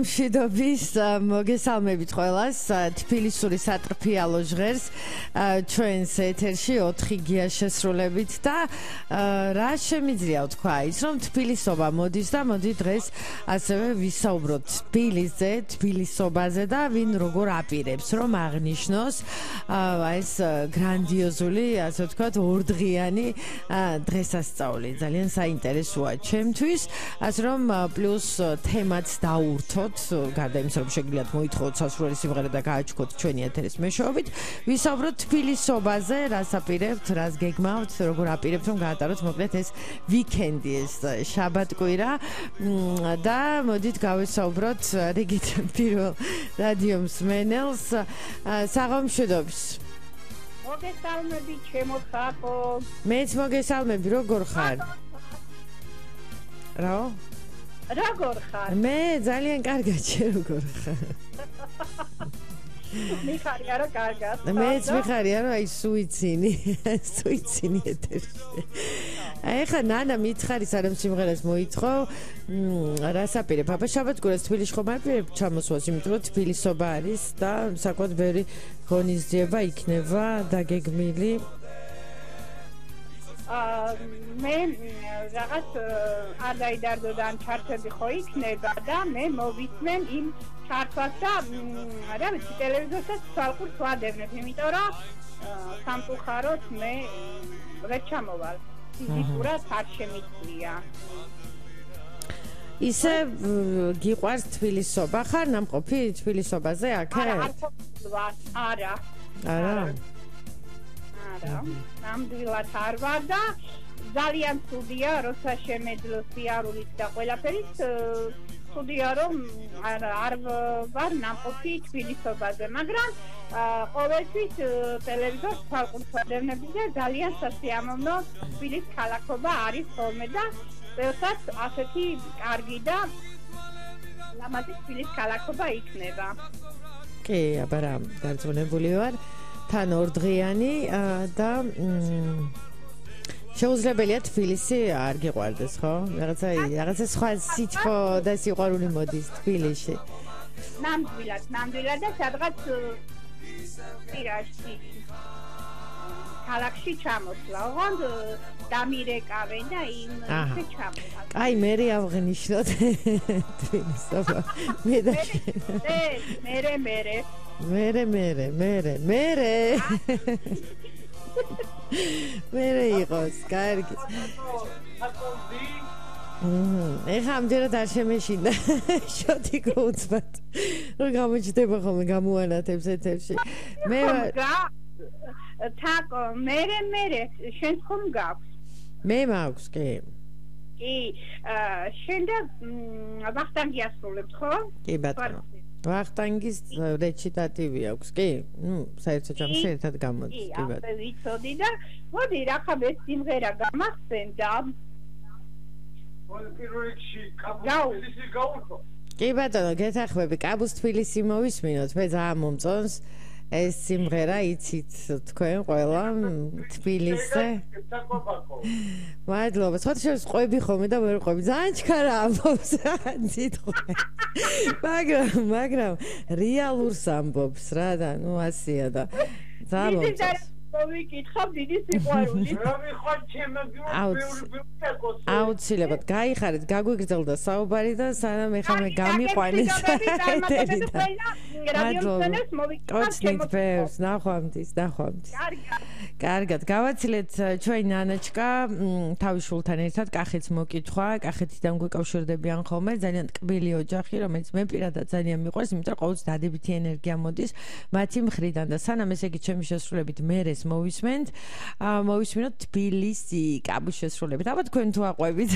მშვიდობის მოგესალმებით ყველას თბილისური სატრფიალო ჟღერს ჩვენს ეთერში 4 გია შესრულებით და რა შემიძლია ვთქვა ის რომ თბილისობა მოდის და მოდი დღეს ასევე ვისაუბროთ თბილისზე, თბილისობაზე და ვინ როგორ აპირებს რომ აღნიშნოს ეს გრანდიოზული ასე ვთქვათ ორდღიანი დღესასწაული ძალიან საინტერესოა ჩემთვის ასე რომ პლუს თემაც დაურთო გარდა იმისა, რომ შეგიძლიათ მოითხოვოთ სასურველი სიმღერა და გააჩქოთ ჩვენი ეთერის მეშვეობით, ვისაუბროთ თბილისობაზე, რას აპირებთ, რას გეგმავთ, როგორ აპირებთ, რომ გაატაროთ მოკლედ ეს ვიკენდი, ეს შაბათ-კვირა და მოდით გავესაუბროთ რიგით პირველ რადიო მსმენელს, საღამშვიდობის. მოგესალმებით, ჩემო ხალხო. მეც მოგესალმები, როგორ ხარ? რა? როგორ ხარ? მე ძალიან კარგად, შე როგორ ხარ? მიხარია რა კარგად. მეც მიხარია რა აი სუიცინი ეთერში. ეხა ნანა მიცხარის არამ სიმღერას მოითხოვ, რას აპირებ? აბა შაბათ-კვირას თბილისში ხომ აპირებ ჩამოსვლას, იმიტომ რომ თბილისობა არის და საკმაოდ ბევრი ღონისძიება იქნება დაგეგმილი. მე რაღაც ადაიდარდოდან ჩართები ხო იქნება და მე მოვისმენ იმ ჩართვას და რა ვიცი ტელევიზორსაც თვალყურს ვადევნებ, იმიტომ რომ სამწუხაროდ მე ვერ ჩამოვალ. ფიზიკურად არ შემიძლია. ისე გიყვარს თბილისობა ხარ ნამყოფი თბილისობაზე აქეთ? არა. ნამდვილად არ ვარ და ძალიან ცუდია, როცა შემეძლო სიარულით და ყველაფერით ცუდია, რომ არ ვარ ნამყოფი თბილისობაზე, მაგრამ ყოველთვის ტელევიზორს თვალყურს ვადევნები და ძალიან სასიამოვნო თბილის ქალაქობა არის ხოლმე და წელსაც ასეთი კარგი და ლამაზი თბილის ქალაქობა იქნება. კი, აბა რა, დარწმუნებული ვარ. თან ორდღიანი და შეუძლებელია თბილისი არ გიყვარდეს, ხო? რაღაცა სხვა სითბო და სიყვარული მოდის თბილისში. ნამდვილად და სადღაც პირაში ქალაქში ჩამოსვლა. ოღონდ დამირეკავენ და იმის ჩამოსვლა. აი, მე ავღნიშნოთ თბილისობა. მერე იყოს, კარგი. ეხა ამჯერად არ შემეშინდა შოთი გუძბად. რომ გამოჩდება ხოლმე გამოანათებს ეთერში. მე თაკო, მერე, შენ ხომ გაქვს? მე მაქვს, კი. კი, შენ და ვახტანგი ასრულებთ, ხო? კი, ბატონო. ვახტანგის რეჩიტატივი აქვს, კი? საერთოდ ჯამში ერთად გამოდის, კი ბატონო. კი, ვიცოდი და მოდი რახა ეს სიმღერა გამახსენდა. პირველ რიგში კაბუს გაურთო. კი ბატონო, გეთახმები, კაბუს თბილისი მოვისმინოთ, მე ძალიან მომწონს. ეს სიმღერა იცით თქვენ ყველა თბილისზე. მადლობა. სხვა შევს ყვები ხოლმე და ვერ ყვები. ძალიან ჩქარა ამბობს სიტყვე. მაგრამ რეალურს ამბობს რა და ასია და ძალიან მომწონს. მოვიკითხავ დიდი სიყვარული. აუცილებლად გაიხარეთ, გაგვიგრძელდა საუბარი და სანამ ეხლა მე გამიყვანეს. კოცნით ბევრს, ნახვამდის. კარგად, გავაცილეთ ჩვენი ნანაჩკა თავის შულთან ერთად კახეთს მოკითხვა, კახეთიდან გვეკავშირდებიან ხოლმე, ძალიან ტკბილი ოჯახი, რომელიც მე პირადად ძალიან მიყვარს, იმიტომ რომ ყოველთვის დადებითი ენერგია მოდის მათი მხრიდან და სანამ ესე იგი ჩემი შესრულებით მერეს მოვისმინოთ თბილისი კაბუს შესრულებით. აბა თქვენ თუ აყვებით?